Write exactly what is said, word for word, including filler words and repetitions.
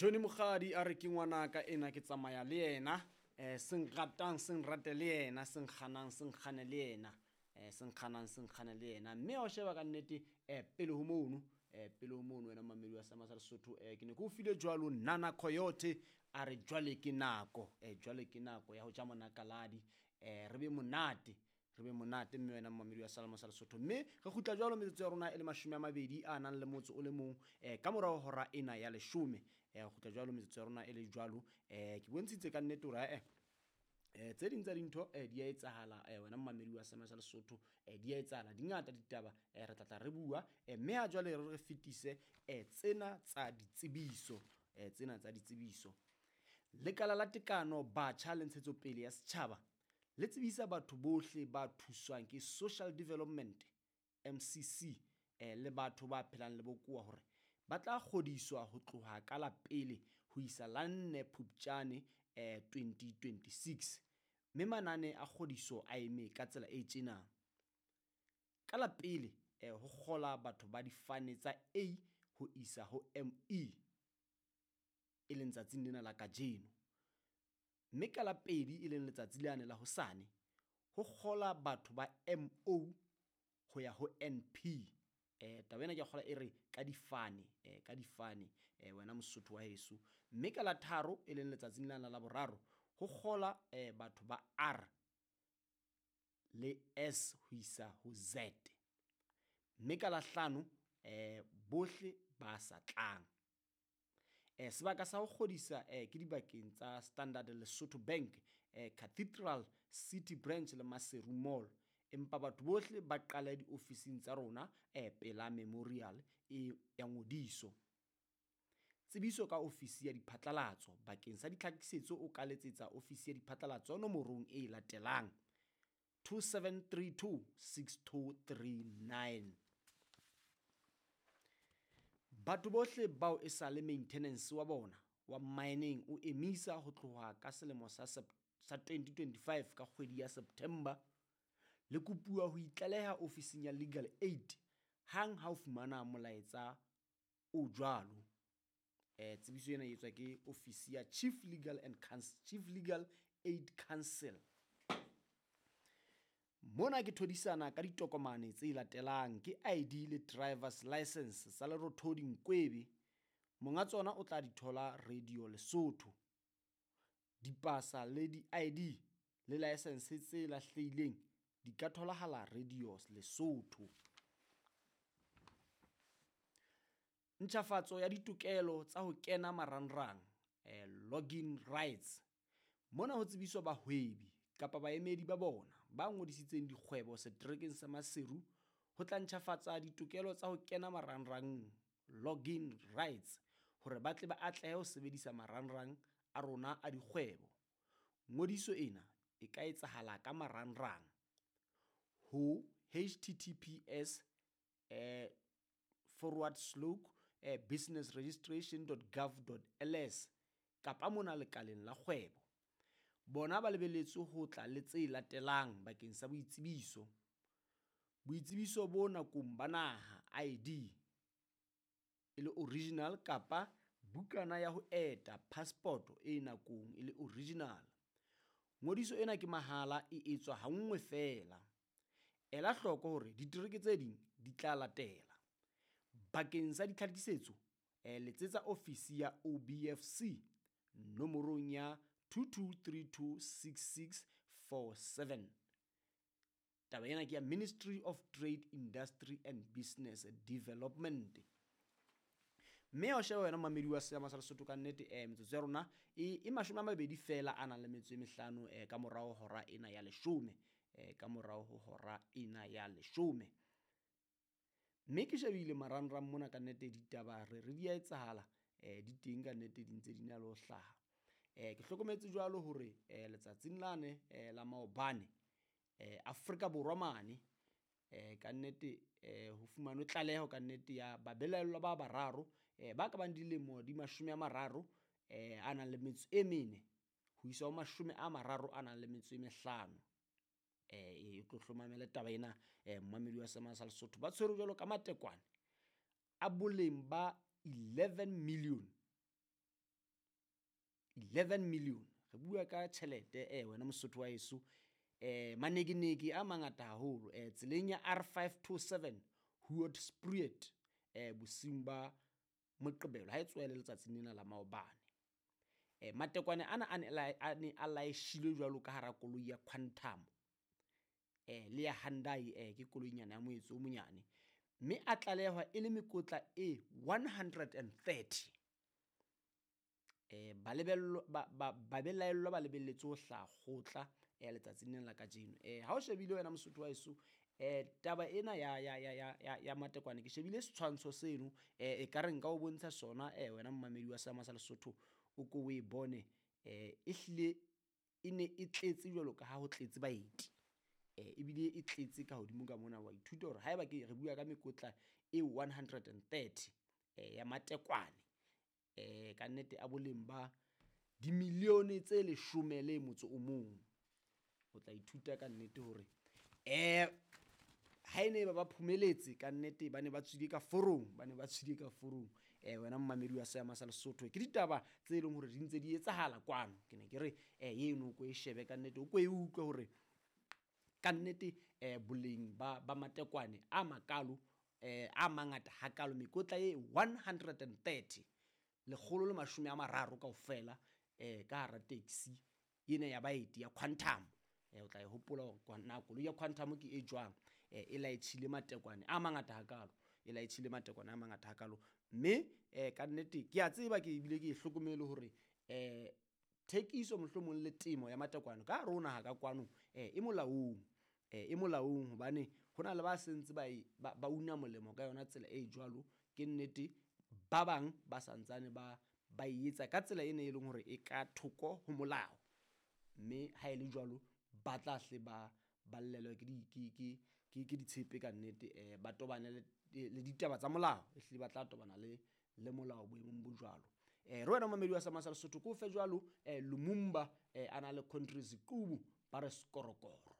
Johnny Mokgadi a re ke ngwanaka ena ke tsamaya le yena, eh seng ratang seng rate le yena, seng kganang seng kgane le yena, eh seng kganang seng kgane le yena. Mme ha o sheba ka nnete eh pele ho mono, eh pele ho mono wena mamedi wa Seema sa Lesotho, eh ke ne ke o file jwalo Nana Coyote a re jwale ke nako, eh jwale ke nako ya ho ja monakaladi, eh re be monate, re be monate mme wena mamedi wa Seema sa Lesotho. Mme re kgutla jwalo metsotso ya rona e le mashome a mabedi a nang le motso o le mong, eh ka morao ho hora ena ya leshome. Eh re kgutla jwalo metsotso ya rona e le jwalo, eh ke bontshitse ka nnete hore eh eh tse ding tsa dintho eh di a etsahala, eh wena mamedi wa Seema sa Lesotho, eh di a etsahala di ngata ditaba, eh re tla tla re bua, eh mme ha jwale re re fetise eh tsena tsa ditsebiso, eh tsena tsa ditsebiso. Lekala la Tekano Batjha le Ntshetsopele ya Setjhaba le tsebisa batho bohle ba thuswang ke Social Development M C C, eh le batho ba phelang le bokowa hore ba tla kgodiswa ho tloha ka la pele ho isa la nne Phupjane, eh twenty twenty-six. Mme manane a kgodiso a eme ka tsela e tjena. Ka la pele, eh ho kgola batho ba difane tsa A ho isa ho M E, e leng tsatsing lena la kajeno. Mme ka la pedi, e leng letsatsi lane la hosane, ho kgola batho ba M O ho ya ho N P. Eh taba ena ke a kgola e re ka difane, eh ka difane, eh wena Mosotho wa heso. Mme ka la tharo, e leng letsatsing lana la boraro, ho kgola, eh batho ba R le S ho isa ho Z. Mme ka la hlano, eh bohle ba sa tlang. Eh sebaka sa ho kgodisa, eh ke dibakeng tsa Standard Lesotho Bank, eh Cathedral City Branch le Maseru Mall. Empa batho bohle ba qale diofising tsa rona, eh pela memorial e ya ngodiso. Tsebiso ka ofisi ya diphatlalatso. Bakeng sa ditlhakisetso o ka letsetsa ofisi ya diphatlalatso nomorong e latelang two seven three two six two three nine. Batho bohle bao e sa le maintenance wa bona wa mining o emisa ho tloha ka selemo sa sep-, sa twenty twenty-five ka kgwedi ya September, le kopuwa ho itlaleha ofising ya Legal Aid hang ha o fumana molaetsa o jwalo. Eh tsebiso ena e etswa ke ofisi ya Chief Legal and Counsel, Chief Legal Aid Council. Mona ke thodisana ka ditokomane tse latelang ke I D le driver's license tsa Lerothodi Nkwebe. Monga tsona o tla di thola Radio Lesotho. Dipasa le di I D le license tse lahlehileng di ka tholahala Radio Lesotho. Ntjhafatso ya ditokelo tsa ho kena marangrang, eh, login rights. Mona ho tsebiswa bahwebi kapa baemedi ba bona ba ngodisitseng dikgwebo seterekeng sa Maseru ho tla ntjhafatsa ditokelo tsa ho kena marangrang, login rights, hore ba tle ba atlehe ho sebedisa marangrang a rona a dikgwebo. Ngodiso ena e ka etsahala ka marangrang ho H T T P S, eh, forward slope, eh, business registration dot gov dot L S kapa mona lekaleng la kgwebo. Bona ba lebeletswe ho tla le tse latelang bakeng sa boitsebiso. Boitsebiso bo nakong ba naha I D e le original kapa bukana ya ho eta passport e nakong e le original. Ngodiso ena ke mahala, e etswa ha nngwe feela. Ela hloko hore ditereke tse ding di tla latela. Bakeng sa ditlhakisetso, eh, letsetsa ofisi ya O B F C nomorong ya two two three two six six four seven. Taba ena ke ya Ministry of Trade, Industry and Business Development. Mme o shebe wena mamedi wa Seema sa Lesotho ka nnete, eh, metsotso ya rona e, e mashome a mabedi feela a nang le metso e mehlano, eh, ka morao hora ena ya leshome, eh, ka morao ho hora ena ya leshome. Mme ke shebile marangrang mona ka nnete ditaba re re di a etsahala, eh, di teng ka nnete di ntse di na le ho hlaha. Eh, ke hlokometse jwalo hore, eh, letsatsing lane, eh, la maobane, eh, Afrika Borwa mane, eh, ka nnete, eh, ho fumanwe tlaleho ka nnete ya babelaellwa ba bararo, eh, ba ka bang dilemo di mashome a mararo, eh, a nang le metso e mene ho isa ho mashome a mararo a nang le metso e mehlano. Eh, e tlo hlomamele taba ena, eh, mmamedi wa Seema sa Lesotho. Ba tshwerwe jwalo ka matekwane a boleng ba eleven million eleven million. Re bua ka tjhelete eh wena Mosotho wa heso, eh manekeneke a mangata haholo eh tseleng ya R five two seven Hoedspruit eh bosiung ba Moqebelo ha e tswele letsatsing lena la maobane. Eh matekwane ana a ne a ne a laeshilwe jwalo ka hara koloi ya Quantum eh le ya Hyundai, eh ke koloinyana ya moetso o monyane, mme a tlalehwa e le mekotla e one hundred and thirty. Eh balebello ba ba babelaellwa ba lebelletse ho hlaha kgotla eh letsatsing lena la kajeno. Eh ha o shebile wena Mosotho wa heso, eh taba ena ya ya ya ya ya, ya matekwane ke shebile setshwantsho seno, eh e ka re nka o bontsha sona eh wena mmamedi wa Seama sa Lesotho o ko o e bone. Eh e hlile e ne e tletse jwalo ka ha ho tletse baeti, eh ebile e tletse ka hodimo ka mona. Wa ithuta hore haeba ke re bua ka mekotla e one hundred and thirty eh ya matekwane eh ka nnete a boleng ba dimilione tse leshome le motso o mong. O tla ithuta ka nnete hore eh ha e ne ba ba phumeletse ka nnete ba ne ba tswile ka forong, ba ne ba tswile ka forong. Eh wena mmamedi wa Seama sa Lesotho, ke ditaba tse leng hore di ntse di etsahala kwano. Ke ne ke re eh eno ko e shebe ka nnete, o ko e utlwe hore ka nnete eh boleng ba ba matekwane a makalo eh a mangata hakalo, mekotla e one hundred and thirty, lekgolo le mashome a mararo kaofela eh ka hara taxi ena ya baeti ya Quantum. Eh o tla e hopola hore na koloi ya Quantum ke e jwang, eh e laetjhile matekwane a mangata hakalo, e laetjhile matekwane a mangata hakalo. Mme eh ka nnete ke a tseba, ke ebile ke e hlokomele hore eh thekiso mohlomong le temo ya matekwane ka hare ho naha ka kwano eh e molaong, eh e molaong, hobane hona le ba sentse ba e, ba, ba una molemo ka yona tsela e jwalo. Ke nnete ba bang ba santsane ba, ba e etsa ka tsela ena e leng hore e ka thoko ho molao, mme ha e le jwalo ba tla hle ba ballelwe ke di, ke, ke, ke, ke ditshepe ka nnete, eh ba tobane le, le ditaba tsa molao, ehlile ba tla tobana le, le molao boemong bo jwalo. Eh re wena momamedi wa Seama sa Lesotho, ko fe jwalo eh Lumumba eh a na le Country Ziqubu ba re skorokoro.